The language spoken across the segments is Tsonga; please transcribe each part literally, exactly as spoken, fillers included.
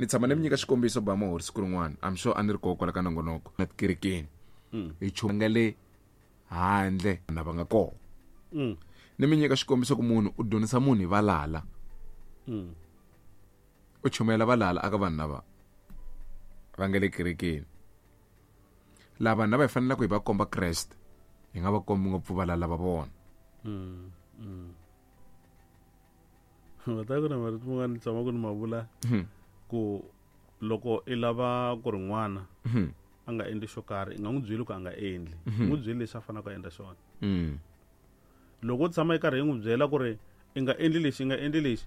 Ni tshama ni mi nyika xikombiso ba mahori siku rin'wana. I'm sure a ni ri kona kwala ka nongonoko na tikerekeni. Hi chunga le handle na va nga kona. Mm. Ni mi nyika xikombiso ku munhu u dyondzisa munhu hi valala. Mm. U chumayela valala aka vanhu lava va nga le kerekeni. Lava vanhu lava hi fanelaka hi va komba Kreste, hi nga va kombi ngopfu valala va vona. Mm. Mm. Va ta ku na marito man'wana ni tshama ku ni ma vula ku loko i lava ku ri n'wana a nga endli xo karhi, i nga n'wi byeli ku a nga endli, n'wi byeli lexi a faneleke a endla xona. Mm. Loko u tshama i karhi i n'wi byela ku ri i nga endli lexi, i nga endli lexi,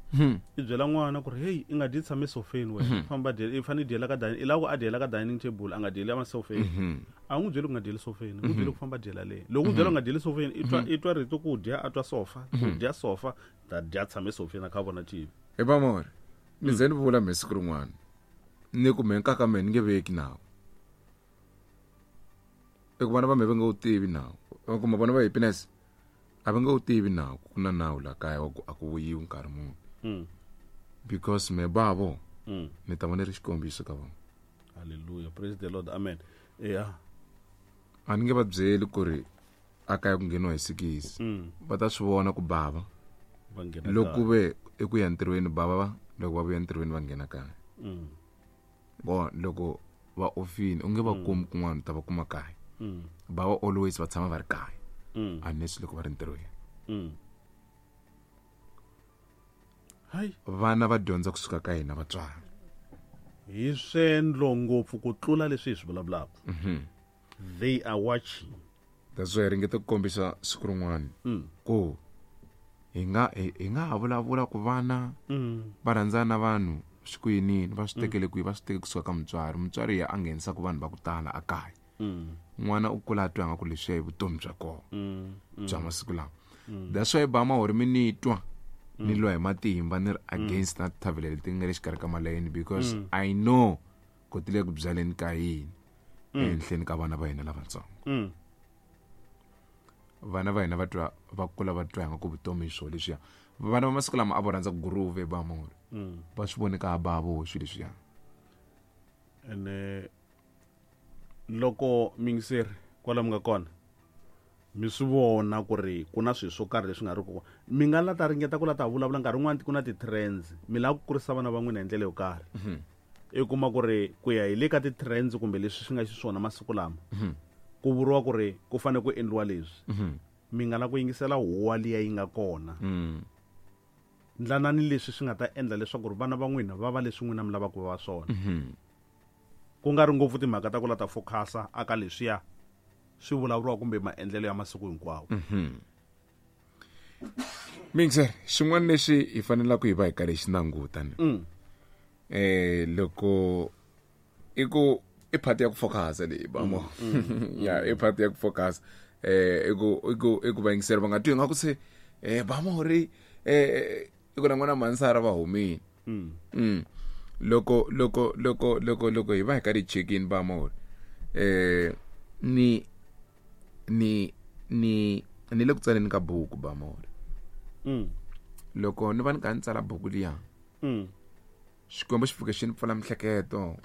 i byela n'wana ku ri hey, i nga dyi tshame sofeni wena, famba dyela, i fanele i dyela ka dining, i lava ku a dyela ka dining table, a nga dyeli emasofeni. A n'wi byeli ku nga dyeli sofeni, n'wi byeli ku famba dyela le. Loko u byela ku nga dyeli sofeni, i twa, i twa rito ku dya, a twa sofa, ku dya sofa, ta dya tshame sofeni a kha a vona T V. Hi ba mori, ni ze ni vula mehe siku rin'wana, ni ku mehe nkaka mehe ni nge veki nawu. I ku vana va mehe va nga wu tivi nawu. Kumbe vona va happiness a va nga wu tivi nawu, ku na nawu la kaya wa ku a ku vuyiwi nkarhi muni. Mm. Because me bavo, Mm. ni ta va ni ri xikombiso ka vona. Hallelujah, praise the Lord, amen. Yeah. A ni nge va byeli ku ri a kaya ku ngheniwa hi sikisi. Mm. Va ta swi vona ku bava. Va nghena Loko kaya. ve i ku ya ntirhweni bava va, loko va vuya ntirhweni va nghena kaya. Mm. Bo loko va ofini u nge va kumi kun'wana, u ta va kuma kaya. Mm. Bava always va tshama va ri kaya. Mm. Unless loko va ri ntirhweni. Mm. Hayi. Vana va dyondza kusuka ka hina vatswari. Hi swendlo ngopfu ku tlula leswi hi swi vulavulaka. Mm-hmm. They are watching. That's why hi ringeta ku kombisa siku rin'wana Mm. ku hi nga, hi, hi nga ha vulavula ku vana Mm. va rhandzana na vanhu swi ku yinini, va swi tekele kwihi, va swi teke kusuka ka mutswari. Mutswari ya a nghenisaka vanhu va ku tala a kaya. Mm. N'wana u kula a twa nga ku leswiya i vutomi bya kona Mm. Mm. bya masiku lawa. That's why ba mahori mi ni twa ni lwa hi matimba ni ri against na tithavhele leti nga le xikarhi ka malayeni, because Mm. I know ku ti le ku byaleni ka yini ehenhleni ka vana va hina lavatsongo. Mm. Vana va hina va twa, va kula va twa nga ku vutomi hi swona leswiya. Vana va masiku lama a vo rhandza ku groove ba mahori. Mm. Va swi vone ka ba vo swilo leswiya. Ene loko mingiseri kwala mi nga kona mi swi vona ku ri ku na swilo swo karhi leswi nga ri ku mi nga la ta ringeta ku la ta vulavula nkarhi wun'wani ku na ti-trends, mi lava ku kurisa vana va n'wina hi ndlela yo karhi. Mm-hmm. I kuma ku ri ku ya hi le ka ti-trends kumbe leswi swi nga xiswona masiku lama, Mm-hmm. ku vuriwa ku ri ku fanele ku endliwa leswi. Mm-hmm. Mi nga la ku yingisela huwa liya yi nga kona. Mm. Ndlanani leswi swi nga ta endla leswaku ri vana va n'wina va va leswi n'wina mi lavaka ku va swona. Mm-hmm. Ku nga ri ngopfu timhaka ta ku la ta focus-a aka leswiya swi vulavuriwa kumbe maendlelo ya masiku hinkwawo. Mm-hmm. Mixer, xin'wana lexi hi fanelaka hi va hi karhi hi xi languta ni. Mm. Eh, loko i ku i part ya ku focus-a leyi, ba mo. Mm, mm. Ya, i part ya ku focus. Eh, i ku, i ku, i ku vayingiseri va nga twi ingaku se, eh, ba mo ri, eh, i ku na n'wana Mansara va humile. Mm. Mm. Loko, loko, loko, loko, loko hi va hi karhi hi check-in ba mo ri, eh, ni, ni, ni, ni le ku tsaleni ka buku ba mo ri. Mm. Loko ni va ni kha ni tsala buku liya, Mm. Xikwembu xi pfuke xi ni pfula miehleketo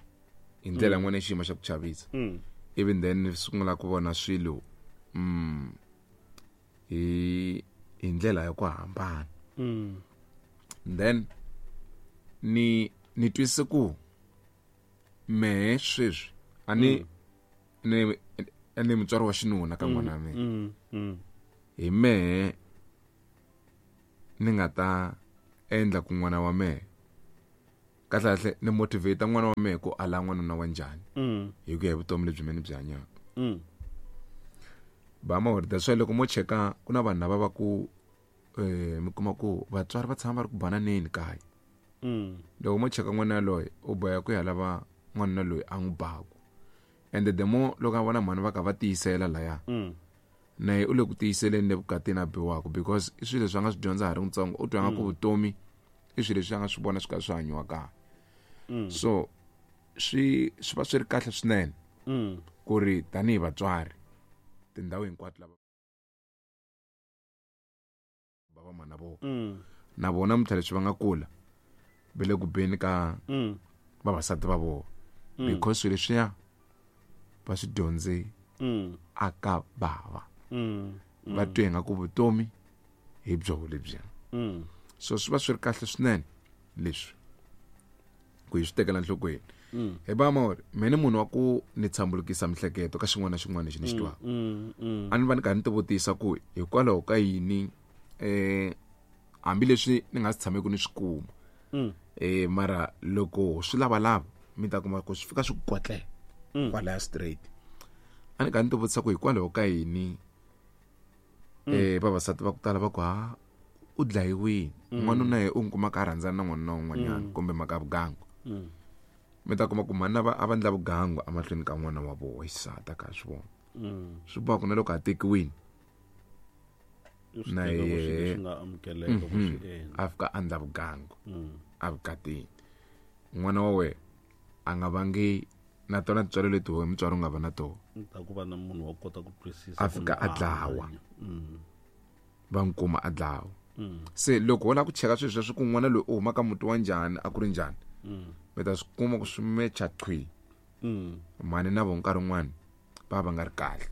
hi ndlela Mm. yin'wana ya xiyimo xa ku chavisa. Mm. Even then ni sungula ku vona swilo, mm, hi, hi ndlela ya ku hambana. Mm. Then ni, ni twisise ku mehe sweswi a ni, Mm. ni, a ni mutswari wa xinuna ka Mm, n'wana wa mina. mm, mm. Hi mehe ni nga ta endla ku n'wana wa mehe kahle kahle ni motivate n'wana wa mehe ku ala n'wanuna wa njhani Mm. hi ku ya hi vutomi lebyi mehe ni byi hanyaka. Mm. Ba ma that's why loko mo cheka ku na vanhu lava va ku, eh, mi kuma ku vatswari va tshama va ri ku bananeni kaya. Mm. Loko mo cheka n'wana yaloye u boheka ku ya lava n'wanuna loyi a n'wi baku. And the more loko a vona mhani va kha va tiyisela laya, Mm. na ye u le ku tiyiseleni le vukatini a biwaka, because i swilo leswi a nga swi dyondza ha ri ntsongo, u twa nga ku Mm. vutomi i swilo leswi a nga swi vona swi kha swi hanyiwa kaya. Mm. So swi, swi va swi ri kahle swinene Mm. ku ri tanihi vatswari tindhawu hinkwato lava va va mana vona. Mm. Na vona namuntlha leswi va nga kula va le ku beni ka Mm. Vavasati va vona because swilo leswiya va swi dyondze aka bava va twe nga ku vutomi hi byo lebyiya so swi va swi ri kahle swinene leswi ku hi swi tekela nhlokweni hi ba mori mina munhu wa ku ni tshambulukisa mihleketo ka xin'wana na xin'wana lexi ni xi twaka a ni va ni karhi ni tivutisa ku hikwalaho ka yini eh hambileswi ni nga si tshameki ni swi kuma eh mara loko swi lavalava mi ta kuma ku swi fika swi kwatlela kwalaya straight a ni karhi ni tivutisa ku hikwalaho ka yini eh vavasati va ku tala va ku ha u dlayiwile n'wanuna ye u n'wi kuma ka rhandzana na n'wanuna un'wanyana kumbe mhaka ya vugangu mi ta kuma ku mhani va a va endla vugangu emahlweni ka n'wana wa vona xisati a kha swi vona swi boha ku na loko a tekiwile na yehe a fika a endla vugangu evukatini n'wana wa wena a nga vangi na tona tintswalo leti wena mutswari u nga va na tona ta ku va na munhu wa kota ku twisisa a fika a dlawa va n'wi kuma a dlawa se loko wo lava ku cheka swilo sweswo ku n'wana loyi u huma ka muti wa njhani a ku ri njhani mi ta swi kuma ku swi mecha qhwi mhani na vo nkarhi wun'wani va va nga ri kahle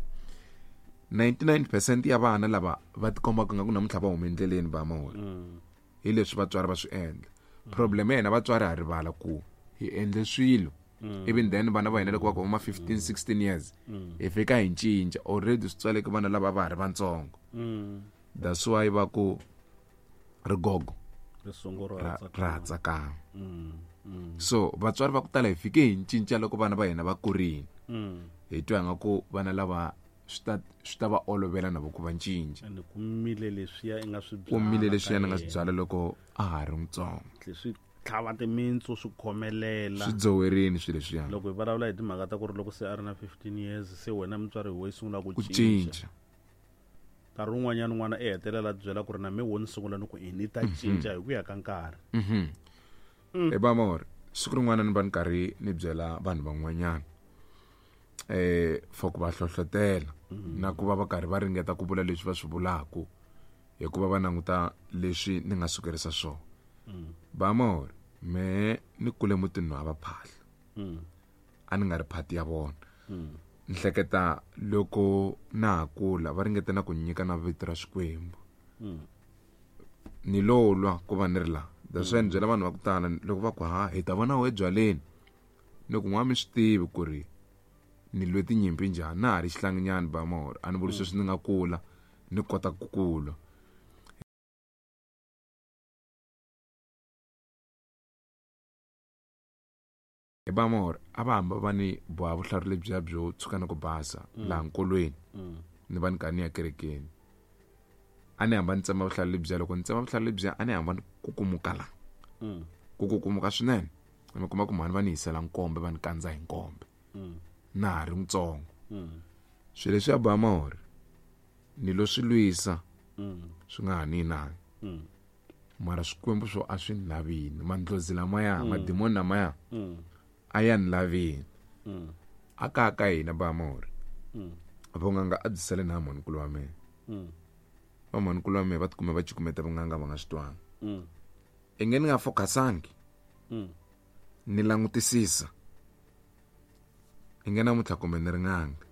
ninety-nine percent ya vana lava va tikombaka nga ku namuntlha va huma endleleni va mahori hi leswi vatswari va swi endla problem ya hina vatswari ha rivala ku hi endle swilo even then vana va hina loko va kuma fifteen sixteen years hi fika hi cinca already swi tswaleke vana lava va ha ri vantsongo that's why va ku rigogo ra tsakama so vatswari va ku tala hi fike hi cinca loko vana va hina va kurile hi twa nga ku vana lava swi ta swi ta va olovela na vo ku va cinca ende ku mile leswiya i nga swi byala ku mile leswiya ni nga swi byala loko a ha ri mutsongo swi tlhava timintsu swi khomelela swi dzowerini swilo leswiya loko hi vulavula hi timhaka ta ku ri loko se a ri na fifteen years se wena mutswari hi wo yi sungula ku cinca nkarhi wun'wanyana n'wana i hetelela byela ku ri na me wo ni sungula ni ku i ni ta cinca hi ku ya ka nkarhi hi ba mori siku rin'wana ni va ni karhi ni byela vanhu van'wanyana eh for ku va hlohlotela na ku va va karhi va ringeta ku vula leswi va swi vulaka hikuva va languta leswi ni nga sukerisa swona ba mori me ni kule mutini wa va phahla a ni nga ri phati ya vona ni hleketa loko na ha kula va ringeta na ku nyika na vito ra Xikwembu ni lo lwa ku va ni ri la that's why ni byela vanhu va ku tala loko va ku ha hi ta vona we byaleni ni ku n'wa mi swi tivi ku ri ni lwe tinyimpi njhani na ha ri xihlanginyana ba mahori a ni vuli sweswi ni nga kula ni kota ku kula hi ba mahori a va hamba va ni boha vuhlalu lebyiya byo tshuka na ku basa laha nkolweni ni va ni karhi ni ya kerekeni a ni hamba ni tsema vuhlalu lebyiya loko ni tsema vuhlalu lebyiya a ni hamba ni kukumuka la ku kukumuka swinene mi kuma ku mhani va ni hisela nkombe va ni kandza hi nkombe na ha ri mutsongo swilo leswi ya ba mahori ni lo swi lwisa swi nga ha ni inani mara swikwembu swo a swi ni lavini mandlozi lamaya madimoni lamaya a ya ni lavini a ka ka hina ba mahori vun'anga a byi sale na mhanikulu wa mina va mhanikulu wa mina va tikume va cukumeta vun'anga va nga swi twanga i nge ni nga focusangi ni langutisisa i nge namuntlha kumbe ni ri n'anga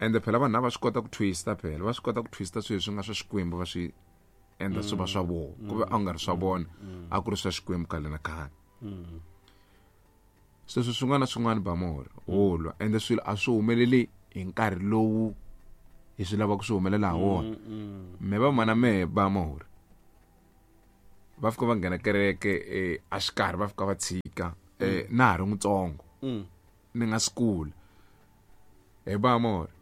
ende phela vanhu lava swi kota ku twista phela va swi kota ku twista swilo leswi nga swa Xikwembu va swi endla swi va swa vona ku ve a nga ri swa vona a ku ri swa Xikwembu khale na khale sweswo swin'wana na swin'wana ba mohori wo lwa ende swilo a swi humeleli hi nkarhi lowu hi swi lavaka swi humelela ha wona me va mana mehe ba mohori va fika va nghena kereke a xikarhi va fika va tshika na ha ri mutsongo ni nga swi kula hi ba mohori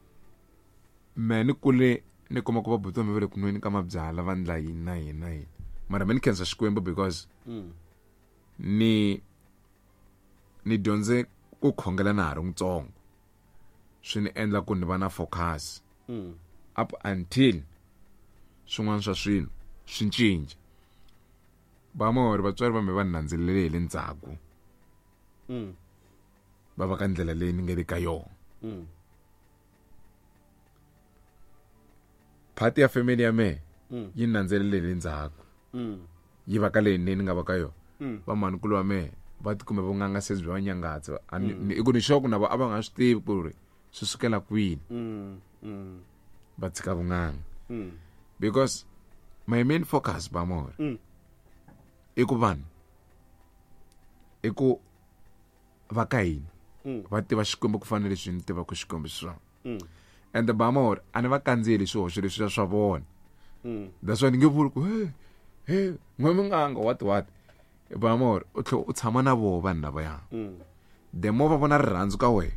me ni kule ni kuma ku va buti wa mina va le ku nweni ka mabyala va ndla yini na yini na yini mara me ni khensa Xikwembu because ni ni dyondze ku khongela na ha ri mutsongo swi ni endla ku ni va na focus up until swin'wana swa swilo swi cinca ba mahori vatswari va me va ni landzelele hi le ndzhaku va va ka ndlela leyi ni nga le ka yona phati ya family ya mehe yi ni landzelele hi le ndzhaku yi va ka leyi ni nga va ka yona Va mankulu wa mehe va tikume vun'anga se byi va nyangatsa. I ku ni sure ku na vo a va nga swi tivi ku ri swi sukela kwini. Va tshika vun'anga. Because my main focus ba more i ku vanhu i ku va ka hina va tiva Xikwembu ku fana leswi ni tivaka Xikwembu xiswona. And ba more a ni va kandziyeli swihoxo leswi swa vona. That's why ni nge vuli ku hey hey n'we munganga what what. Ba more u tlhe u tshama na voho vanhu lavaya. The more va vona rirhandzu ka wena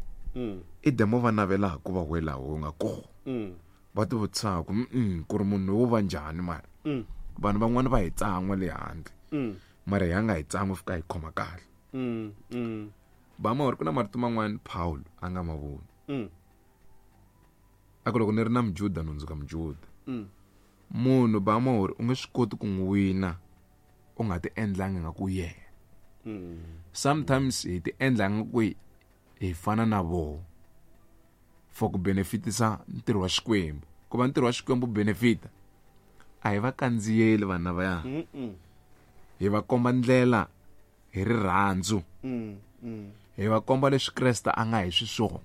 i the more va navelaka ku va we laha u nga kona. Va ti vutisaka ku ku ri munhu wo va njhani mara. Vanhu van'wani va hi tsan'wa le handle. Mara hi nga hi tsan'wi fika hi khoma kahle. Ba more ku na marito man'wani Paul a nga ma voni. A ku loko ni ri na Mujuda ni hundzuka Mujuda. Munhu ba more u nge swi koti ku n'wi wina u nga ti endlangi nga ku yena. Sometimes hi ti endla nga ku hi fana na voho for ku benefitisa ntirho wa Xikwembu. Ku va ntirho wa Xikwembu benefita a hi va kandziyeli vanhu lavaya. Hi va komba ndlela hi rirhandzu. Hi va komba leswi Kreste a nga hi swiswona.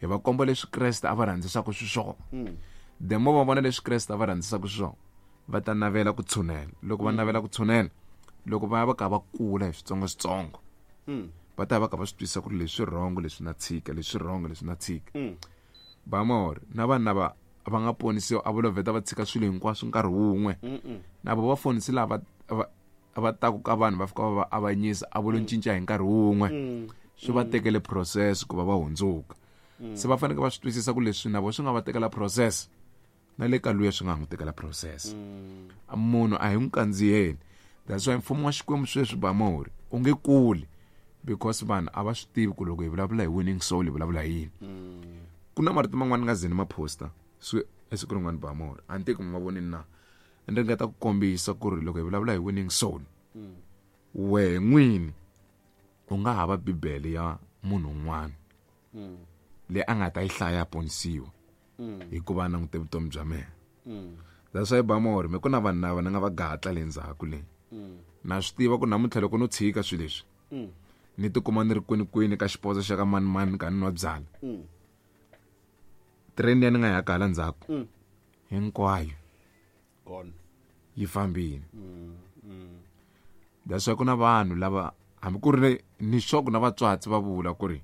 Hi va komba leswi Kreste a va rhandzisaka swiswona. The more va vona leswi Kreste a va rhandzisaka swiswona va ta navela ku tshunela. Loko va navela ku tshunela, loko va ya va ka va kula hi switsongoswitsongo, va ta va ka va swi twisisa ku ri leswi wrong leswi na tshika, leswi wrong leswi na tshika. Ba more na vanhu lava va nga ponisiwa a va lo vheta va tshika swilo hinkwaswo nkarhi wun'we. Na vo va fonisi lava va taku ka vanhu va fika va va avanyisa a vo lo cinca hi nkarhi wun'we. Swi va tekele process ku va va hundzuka. Se va fanele va swi twisisa ku leswi na vo swi nga va tekela process na le ka luya swi nga n'wi tekela process. Munhu a hi n'wi kandziyeli. That's why mfumo wa Xikwembu sweswi ba more u nge kuli because vanhu a va swi tivi ku loko hi vulavula hi winning soul hi vulavula hi yini. Ku na marito man'wani nga zeni ma posta swi esiku rin'wana ba more a ni teki mi ma vonini na ni ringeta ku kombisa ku ri loko hi vulavula hi winning soul wehe n'wini u nga hava Bibele ya munhu un'wana leyi a nga ta yi hlaya ponisiwa hikuva a langute vutomi bya mehe. That's why ba more me ku na vanhu lava ni nga va gatla le ndzhaku le. Na swi tiva ku namuntlha loko no tshika swilo leswi ni tikuma ni ri kwini kwini ka xiposo xa ka mani mani ka ni nwa byala. Train ya ni nga ya kala ndzhaku hinkwayo gone yi fambile. That's why ku na vanhu lava hambi ku ri ni sure na vatswatsi va vula ku ri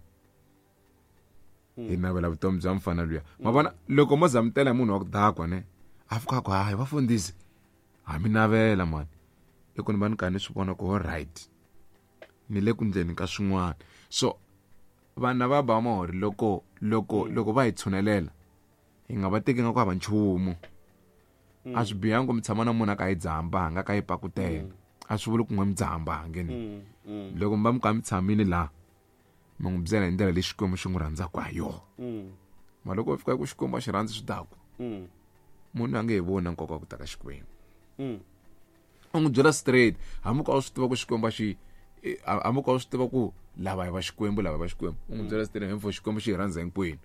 hi navela vutomi bya mfana luya. Ma vona loko mo zamutela munhu wa ku dakwa ne a fika ku hayi vafundhisi ha mi navela mani i ku ni va ni ka ni swi vona ku all right ni le ku ndleni ka swin'wana. So vanhu va ba more loko loko loko va hi tshunelela hi nga va teki nga ku hava nchumu. A swi bihangi ku mi tshama na munhu a ka yi dzaha mbanga ka yi pakutela. A swi vuli ku n'we mi dzaha mbangi ni. Loko mi va mi ka mi tshamile laha mi n'wi byela hi ndlela leyi Xikwembu xi n'wi rhandzaka ha yona. Ma loko u fika ku Xikwembu a xi rhandzi swidakwa munhu a nge hi voni nkoka wa ku ta ka Xikwembu. U n'wi byela straight hambi ku a swi tiva ku Xikwembu a xi hambi ku a swi tiva ku lava hi va Xikwembu lava va Xikwembu u n'wi byela straight hemfo Xikwembu xi hi rhandza hinkwenu.